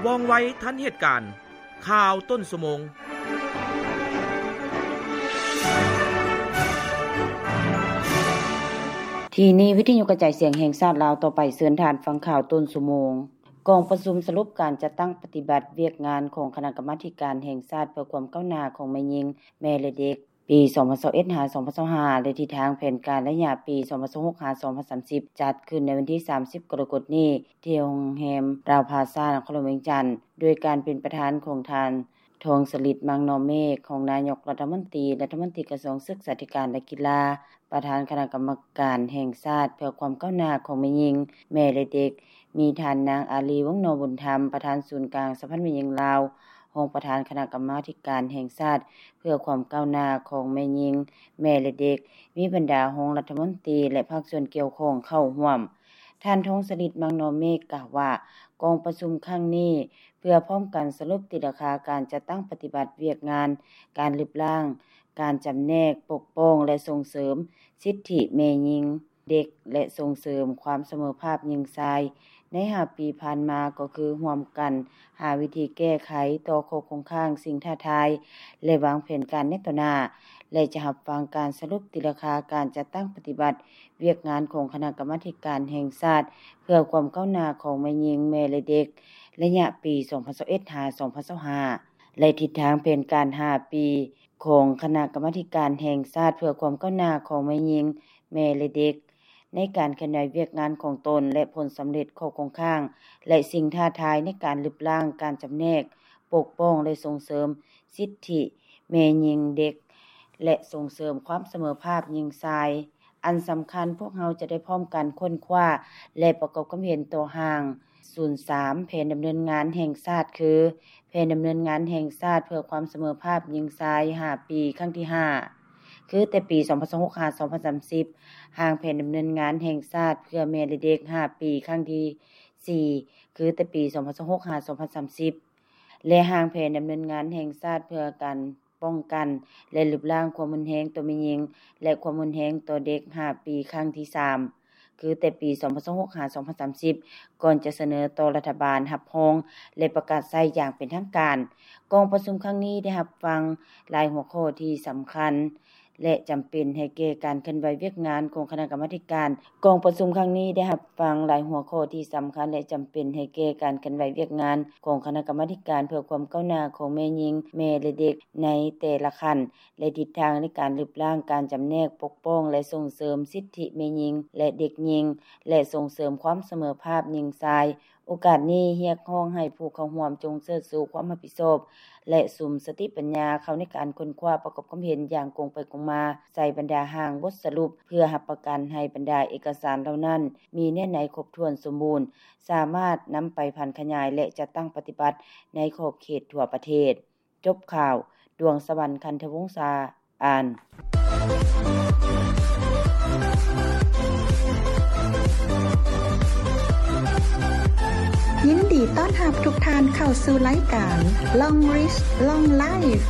ວ່ອງໄວທັນເຫດການ. ຂ່າວຕົ້ນຊົ່ວໂມງ. ທີ່ນີ້ວິທະຍຸກະຈາຍສຽງແຫ່ງຊາດລາວ. ຕໍ່ໄປເຊີນທ່ານຟັງຂ່າວຕົ້ນຊົ່ວໂມງ. ກອງປະຊຸມສະຫຼຸບການຈັດຕັ້ງປະຕິບັດວຽກງານຂອງຄະນະກຳມາທິການແຫ່ງຊາດເພື່ອຄວາມກ້າວໜ້າຂອງແມ່ຍິງ, ແມ່ ແລະ ເດັກ ປີສອງພັນຊາວເອັດ ຫາ ສອງພັນຊາວຫ້າ ແລະ ທິດທາງແຜນການໄລຍະປີສອງພັນຊາວຫົກ ຫາ ສອງພັນສາມສິບ ຈັດຂຶ້ນໃນວັນທີສາມສິບ ກໍລະກົດນີ້ ທີ່ໂຮງແຮມລາວພາຊາ ນະຄອນຫຼວງວຽງຈັນ ໂດຍການເປັນປະທານຂອງທ່ານ ທອງສະລິດ ມັງນໍເມກ ຮອງນາຍົກລັດຖະມົນຕີ, ລັດຖະມົນຕີກະຊວງສຶກສາທິການ ແລະ ກິລາ, ປະທານຄະນະກຳມາທິການແຫ່ງຊາດເພື່ອຄວາມກ້າວໜ້າຂອງແມ່ຍິງ, ແມ່ ແລະ ເດັກ, ມີທ່ານນາງ ອາລີ ວົງນໍບຸນທຳ ປະທານສູນກາງສະຫະພັນແມ່ຍິງລາວ, ຮອງປະທານຄະນະກຳມາທິການແຫ່ງຊາດເພື່ອຄວາມກ້າວໜ້າຂອງແມ່ຍິງ, ແມ່ ແລະ ເດັກ, ມີບັນດາຮອງລັດຖະມົນຕີ ແລະ ພາກສ່ວນກ່ຽວຂ້ອງເຂົ້າຮ່ວມ. ທ່ານ ທອງສະລິດ ມັງນໍເມກ ກ່າວວ່າ ກອງປະຊຸມຄັ້ງນີ້ ເພື່ອພ້ອມກັນສະຫຼຸບຕີລາຄາການຈັດຕັ້ງປະຕິບັດວຽກງານ ການລຶບລ້າງ, ການຈຳແນກ, ປົກປ້ອງ ແລະ ສົ່ງເສີມສິດທິແມ່ຍິງ, ເດັກ ແລະ ສົ່ງເສີມຄວາມສະເໝີພາບຍິງຊາຍ ໃນຫ້າປີຜ່ານມາ ກໍຄືຮ່ວມກັນຫາວິທີແກ້ໄຂຕໍ່ຂໍ້ຄົງຄ້າງ, ສິ່ງທ້າທາຍ ແລະ ວາງແຜນການໃນຕໍ່ໜ້າ ແລະ ຈະຮັບຟັງການສະຫຼຸບຕີລາຄາການຈັດຕັ້ງປະຕິບັດວຽກງານຂອງຄະນະກຳມາທິການແຫ່ງຊາດເພື່ອຄວາມກ້າວໜ້າຂອງແມ່ຍິງ, ແມ່ ແລະ ເດັກ ໄລຍະປີສອງພັນຊາວເອັດ ຫາ ສອງພັນຊາວຫ້າ ແລະ ທິດທາງແຜນການຫ້າປີ ຂອງຄະນະກຳມາທິການແຫ່ງຊາດເພື່ອຄວາມກ້າວໜ້າຂອງແມ່ຍິງ, ແມ່ ແລະ ເດັກ ໃນການເຄື່ອນໄຫວວຽກງານຂອງຕົນ ແລະ ຜົນສຳເລັດ, ຂໍ້ຄົງຄ້າງ ແລະ ສິ່ງທ້າທາຍໃນການລຶບລ້າງ, ການຈຳແນກ, ປົກປ້ອງ ແລະ ສົ່ງເສີມສິດທິແມ່ຍິງ, ເດັກ ແລະ ສົ່ງເສີມຄວາມສະເໝີພາບຍິງຊາຍ. ອັນສຳຄັນ, ພວກເຮົາຈະໄດ້ພ້ອມກັນຄົ້ນຄວ້າ ແລະ ປະກອບຄວາມເຫັນຕໍ່ຮ່າງສູນສາມ ແຜນດຳເນີນງານແຫ່ງຊາດ ຄື ແຜນດຳເນີນງານແຫ່ງຊາດເພື່ອຄວາມສະເໝີພາບຍິງຊາຍຫ້າປີ ຄັ້ງທີຫ້າ ຄືແຕ່ປີສອງພັນຊາວຫົກ ຫາ ສອງພັນສາມສິບ, ຮ່າງແຜນດຳເນີນງານແຫ່ງຊາດເພື່ອແມ່ ແລະ ເດັກຫ້າປີ ຄັ້ງທີສີ່ ຄືແຕ່ປີສອງພັນຊາວຫົກ ຫາ ສອງພັນສາມສິບ ແລະ ຮ່າງແຜນດຳເນີນງານແຫ່ງຊາດເພື່ອການ ປ້ອງກັນ ແລະ ລຶບລ້າງຄວາມຮຸນແຮງຕໍ່ແມ່ຍິງ ແລະ ຄວາມຮຸນແຮງຕໍ່ເດັກຫ້າປີ ຄັ້ງທີສາມ ຄືແຕ່ປີສອງພັນຊາວຫົກ ຫາ ສອງພັນສາມສິບ ກ່ອນຈະສະເໜີຕໍ່ລັດຖະບານຮັບຮອງ ແລະ ປະກາດໃຊ້ຢ່າງເປັນທາງການ. ກອງປະຊຸມຄັ້ງນີ້ໄດ້ຮັບຟັງຫຼາຍຫົວຂໍ້ທີ່ສຳຄັນ ແລະ ຈຳເປັນໃຫ້ແກ່ການເຄື່ອນໄຫວວຽກງານຂອງຄະນະກຳມາທິການ. ກອງປະຊຸມຄັ້ງນີ້ໄດ້ຮັບຟັງຫຼາຍຫົວຂໍ້ທີ່ສຳຄັນ ແລະ ຈຳເປັນໃຫ້ແກ່ການເຄື່ອນໄຫວວຽກງານຂອງຄະນະກຳມາທິການເພື່ອຄວາມກ້າວໜ້າຂອງແມ່ຍິງ, ແມ່ ແລະ ເດັກໃນແຕ່ລະຂັ້ນ ແລະ ທິດທາງໃນການລຶບລ້າງ, ການຈຳແນກ, ປົກປ້ອງ ແລະ ສົ່ງເສີມສິດທິແມ່ຍິງ ແລະ ເດັກຍິງ ແລະ ສົ່ງເສີມຄວາມສະເໝີພາບຍິງຊາຍ. ໂອກາດນີ້ຮຽກຮ້ອງໃຫ້ຜູ້ເຂົ້າຮ່ວມຈົ່ງເຊີດຊູຄວາມຮັບຜິດຊອບ ແລະ ສຸມສະຕິປັນຍາເຂົ້າໃນການຄົ້ນຄວ້າປະກອບຄວາມເຫັນຢ່າງກົງໄປກົງມາໃສ່ບັນດາຮ່າງບົດສະຫຼຸບ ເພື່ອຮັບປະກັນໃຫ້ບັນດາເອກະສານເຫຼົ່ານັ້ນມີເນື້ອໃນຄົບຖ້ວນສົມບູນ, ສາມາດນຳໄປຜັນຂະຫຍາຍ ແລະ ຈັດຕັ້ງປະຕິບັດໃນຂອບເຂດທົ່ວປະເທດ. ຈົບຂ່າວ. ດວງສະຫວັນ ຄັນທະວົງສາ ອ່ານ. ຍິນດີຕ້ອນຮັບທຸກທ່ານເຂົ້າສູ່ລາຍການ Long Reach Long Life.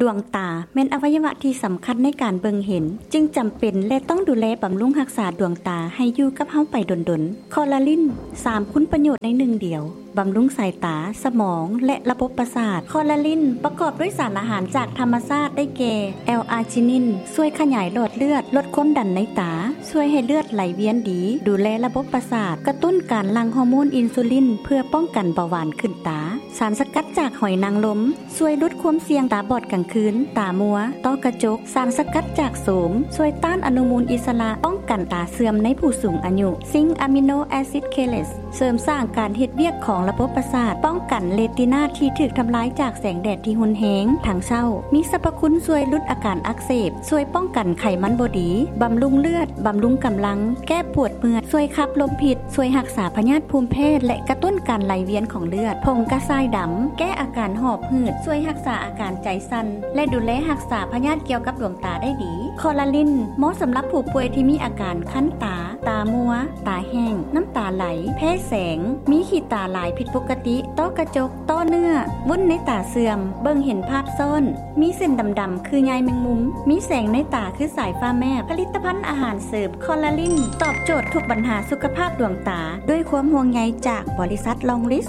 ດວງຕາແມ່ນອະໄວຍະວະທີ່ສຳຄັນໃນການເບິ່ງເຫັນ, ຈຶ່ງຈຳເປັນ ແລະ ຕ້ອງດູແລບຳລຸງຮັກສາດວງຕາໃຫ້ຢູ່ກັບເຮົາໄປດົນໆ. ຄໍລາລິນ ສາມຄຸນປະໂຫຍດໃນໜຶ່ງດຽວ. ບຳລຸງສາຍຕາ, ສະໝອງ ແລະ ລະບົບປະສາດ. ຄໍລາລິນປະກອບດ້ວຍສານອາຫານຈາກທຳມະຊາດ ໄດ້ແກ່ ແອລອາຈິນິນ ຊ່ວຍຂະຫຍາຍຫຼອດເລືອດ, ລົດຄວາມດັນໃນຕາ, ຊ່ວຍໃຫ້ເລືອດໄຫຼວຽນດີ, ດູແລລະບົບປະສາດ, ກະຕຸ້ນການຫຼັ່ງຮໍໂມນອິນຊູລິນ ເພື່ອປ້ອງກັນເບົາຫວານຂຶ້ນຕາ. ສານສະກັດຈາກຫອຍນາງລົມ ຊ່ວຍຫຼຸດຄວາມສ່ຽງຕາບອດກາງຄືນ, ຕາມົວ, ຕ້ອກະຈົກ. ສານສະກັດຈາກໂສມ ຊ່ວຍຕ້ານອະນຸມູນອິດສະຫຼະ, ປ້ອງກັນຕາເສື່ອມໃນຜູ້ສູງອາຍຸ. ຊິງອາມິໂນແອຊິດເຄເລດ ເສີມສ້າງການເຮັດວຽກຂອງລະບົບປະສາດ, ປ້ອງກັນເຣຕິນາທີ່ຖືກທຳລາຍຈາກແສງແດດທີ່ຮຸນແຮງທັງເຊົ້າ. ມີສັບພະຄຸນຊ່ວຍຫຼຸດອາການອັກເສບ, ຊ່ວຍປ້ອງກັນໄຂມັນບໍ່ດີ, ບຳລຸງເລືອດ, ບຳລຸງກຳລັງ, ແກ້ປວດເມື່ອຍ, ຊ່ວຍຂັບລົມພິດ, ຊ່ວຍຮັກສາພະຍາດພູມແພ້ ແລະ ກະຕຸ້ນການໄຫຼວຽນຂອງເລືອດ. ຜົງກະຊາຍດຳ ແກ້ອາການຫອບ ພືດ ຊ່ວຍຮັກສາອາການໃຈສັ່ນ, ແລະດູແລຮັກສາພະຍາດກ່ຽວກັບດວງຕາໄດ້ດີ. ຄໍລາລິນ ເໝາະສຳລັບຜູ້ປ່ວຍທີ່ມີອາການຄັນຕາ, ຕາມົວ, ຕາແຫ້ງ, ນ້ຳຕາໄຫຼ, ແພ້ແສງ, ມີຂີ້ຕາຫຼາຍຜິດປົກກະຕິ, ຕ້ອກະຈົກ, ຕ້ອເນື້ອ, ວຸ້ນໃນຕາເສື່ອມ, ເບິ່ງເຫັນພາບຊ້ອນ, ມີເສັ້ນດຳໆຄືໃຍແມງມຸມ, ມີແສງໃນຕາຄືສາຍຟ້າແມບ. ຜະລິດຕະພັນອາຫານເສີມຄໍລາລິນ ຕອບໂຈດທຸກບັນຫາສຸຂະພາບດວງຕາ ດ້ວຍຄວາມຫ່ວງໃຍຈາກບໍລິສັດລອງລິດ.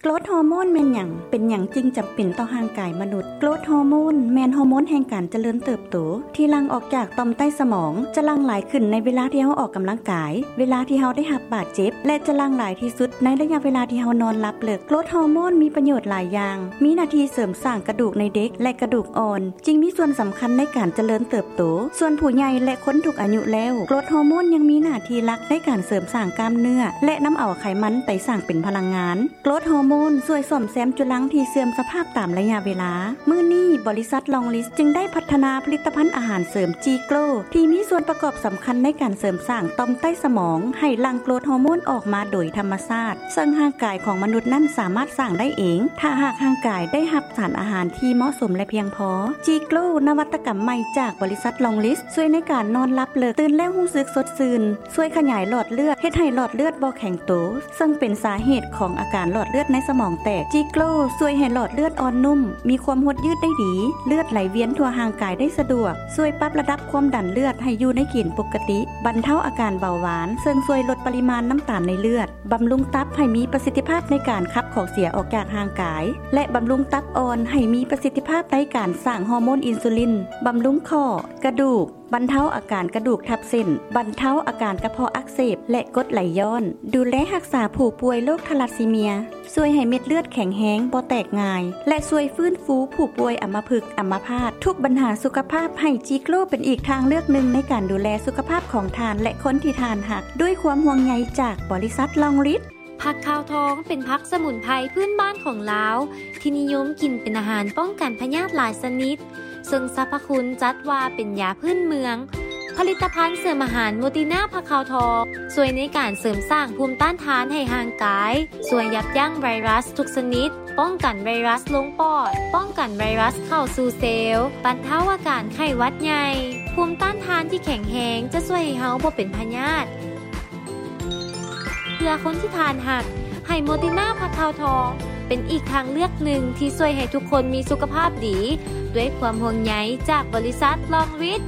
ໂກຣດຮໍໂມນແມ່ນຫຍັງ? ເປັນຫຍັງຈຶ່ງຈຳເປັນຕໍ່ຮ່າງກາຍມະນຸດ? ໂກຣດຮໍໂມນແມ່ນຮໍໂມນແຫ່ງການຈະເລີນເຕີບໂຕ ທີ່ຫຼັ່ງອອກຈາກຕ່ອມໃຕ້ສະໝອງ, ຈະຫຼັ່ງຫຼາຍຂຶ້ນໃນເວລາທີ່ເຮົາອອກກຳລັງກາຍ, ເວລາທີ່ເຮົາໄດ້ຮັບບາດເຈັບ ແລະ ຈະຫຼັ່ງຫຼາຍທີ່ສຸດໃນໄລຍະເວລາທີ່ເຮົານອນຫຼັບເລິກ. ໂກຣດຮໍໂມນມີປະໂຫຍດຫຼາຍຢ່າງ, ມີໜ້າທີ່ເສີມສ້າງກະດູກໃນເດັກ ແລະ ກະດູກອ່ອນ, ຈຶ່ງມີສ່ວນສຳຄັນໃນການຈະເລີນເຕີບໂຕ. ສ່ວນຜູ້ໃຫຍ່ ແລະ ຄົນທຸກອາຍຸແລ້ວ, ໂກຣດຮໍໂມນຍັງມີໜ້າທີ່ຫຼັກໃນການເສີມສ້າງກ້າມເນື້ອ ແລະ ນຳເອົາໄຂມັນໄປສ້າງເປັນພະລັງງານ. ໂກຣດຮໍໂມນຊ່ວຍສ້ອມແຊມຈຸລັງທີ່ເສື່ອມສະພາບຕາມໄລຍະເວລາ. ມື້ນີ້ ບໍລິສັດລອງລິດຈຶ່ງໄດ້ພັດທະນາຜະລິດຕະພັນອາຫານເສີມຈີໂກຣ ທີ່ມີສ່ວນປະກອບສຳຄັນໃນການເສີມສ້າງຕ່ອມໃຕ້ສະໝອງ ໃຫ້ຫຼັ່ງໂກຣດຮໍໂມນອອກມາໂດຍທຳມະຊາດ, ເຊິ່ງຮ່າງກາຍຂອງມະນຸດນັ້ນສາມາດສ້າງໄດ້ເອງ ຖ້າຫາກຮ່າງກາຍໄດ້ຮັບສານອາຫານທີ່ເໝາະສົມ ແລະ ພຽງພໍ. ຈີໂກຣ ນະວັດຕະກຳໃໝ່ຈາກບໍລິສັດລອງລິດ ຊ່ວຍໃນການນອນຫຼັບເລິກ, ຕື່ນແລ້ວຮູ້ສຶກສົດຊື່ນ, ຊ່ວຍຂະຫຍາຍຫຼອດເລືອດ, ເຮັດໃຫ້ຫຼອດເລືອດບໍ່ແຂງໂຕ, ເຊິ່ງເປັນສາເຫດຂອງອາການຫຼອດເລືອດໃນສະໝອງແຕກ. ຈີໂກຣ ຊ່ວຍໃຫ້ຫຼອດເລືອດອ່ອນນຸ້ມ, ມີຄວາມຫົດຍືດໄດ້ດີ, ເລືອດໄຫຼວຽນທົ່ວຮ່າງກາຍໄດ້ສະດວກ, ຊ່ວຍປັບລະດັບຄວາມດັນເລືອດໃຫ້ຢູ່ໃນເກນປົກກະຕິ, ບັນເທົາອາການເບົາຫວານ, ເຊິ່ງຊ່ວຍລົດປະລິມານນ້ຳຕານໃນເລືອດ, ບຳລຸງຕັບໃຫ້ມີປະສິດທິພາບໃນການຂັບຂອງເສຍອອກຈາກຮ່າງກາຍ ແລະ ບຳລຸງຕັບອ່ອນໃຫ້ມີປະສິດທິພາບໃນການສ້າງຮໍໂມນອິນຊູລິນ, ບຳລຸງຂໍ້, ກະດູກ, ບັນເທົາອາການກະດູກທັບເສັ້ນ, ບັນເທົາອາການກະເພາະອັກເສບ ແລະ ກົດໄຫຼຍ້ອນ, ດູແລຮັກສາຜູ້ປ່ວຍໂລກທາລາຊີເມຍ, ຊ່ວຍໃຫ້ເມັດເລືອດແຂງແຮງ, ບໍ່ແຕກງ່າຍ ແລະ ຊ່ວຍຟື້ນຟູຜູ້ປ່ວຍອຳມະພຶກ, ອຳມະພາດ. ທຸກບັນຫາສຸຂະພາບ, ໃຫ້ຈີໂກຣເປັນອີກທາງເລືອກໜຶ່ງໃນການດູແລສຸຂະພາບຂອງທ່ານ ແລະ ຄົນທີ່ທ່ານຮັກ, ດ້ວຍຄວາມຫ່ວງໃຍຈາກບໍລິສັດລອງລິດ. ຜັກຂາວທອງເປັນຜັກສະໝຸນໄພພື້ນບ້ານຂອງລາວ ທີ່ນິຍົມກິນເປັນອາຫານປ້ອງກັນພະຍາດຫຼາຍຊະນິດ, ເຊິ່ງສັບພະຄຸນຈັດວ່າເປັນຢາພື້ນເມືອງ. ຜະລິດຕະພັນເສີມອາຫານໂມຕິນາຜັກຂາວທອງ ຊ່ວຍໃນການເສີມສ້າງພູມຕ້ານທານໃຫ້ຮ່າງກາຍ, ຊ່ວຍຢັບຢັ້ງໄວຣັສທຸກຊະນິດ, ປ້ອງກັນໄວຣັສລົງປອດ, ປ້ອງກັນໄວຣັສເຂົ້າສູ່ເຊວ, ບັນເທົາອາການໄຂ້ຫວັດໃຫຍ່. ພູມຕ້ານທານທີ່ແຂງແຮງຈະຊ່ວຍໃຫ້ເຮົາບໍ່ເປັນພະຍາດ. ເພື່ອຄົນທີ່ທ່ານຮັກ, ໃຫ້ໂມຕິນາຜັກຂາວທອງ ເປັນອີກທາງເລືອກໜຶ່ງທີ່ຊ່ວຍໃຫ້ທຸກຄົນມີສຸຂະພາບດີ ດ້ວຍຄວາມຫ່ວງໃຍຈາກບໍລິສັດລອງຣິດ.